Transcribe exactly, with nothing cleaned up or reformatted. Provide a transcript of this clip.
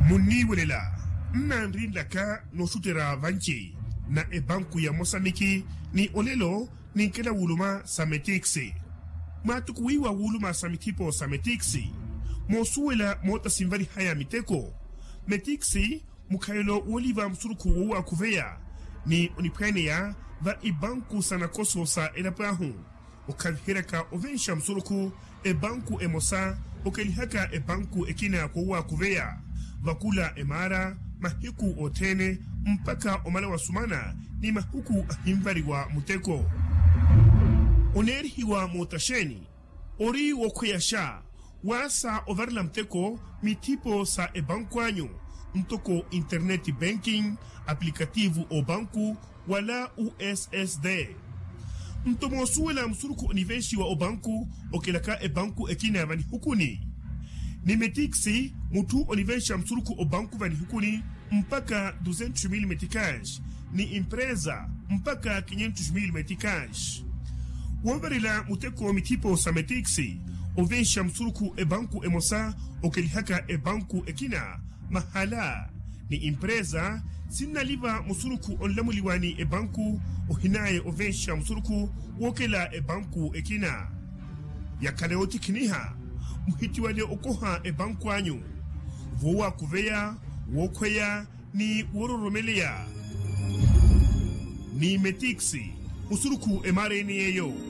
Munniiwelela nnanrinlaka nooxutterya vanci na epanku ya mosamiki ni olelo ninkela wuluma sa metiksi. Mwaatukuwiwa wuluma sa mithipo sa metiksi moosuwela moota sinvalihaya miteko. Metiksi mukhayelo wooliva musurukhu wowakhuveya ni oniphwaaneya va ipanku sa nakoso sa elapo ahu. Okhaviheryaka ovenxa musurukhu epanku emosa okelihaka epanku ekina kowakhuveya vakula emaara mahiku othene mpakha omala wasumana ni mahiku ahinvariwa muteko. Oneerihiwa mootaxeeni ori wokhweyaxa waasa ovarela muteko mithipo sa epanku anyu ntoko internet banking, aplikativu opanku wala ussd. Nto moosuwela musurukhu onivenxiwa opanku okelaka epanku ekina vanihukuni ni metiksi mutthu onivenxa musurukhu opanku vanihukuni mpakha duzentos mil metikaxi ni empresa mpakha kinhentos mil metikaxi. Woovarela muteko mithipo sa metiksi ovenxa musurukhu epanku emosa okelihaka epanku ekina mahala ni empresa sinnaliva musurukhu onlamuliwa ni epanku ohinaya ovenxa musurukhu wookela epanku ekina. Yakhala yootikhiniha muhitiwale okoha epanku anyu voowakuveya, wookhweya ni woororomeleya ni metiksi musurukhu emaara ene yeeyo.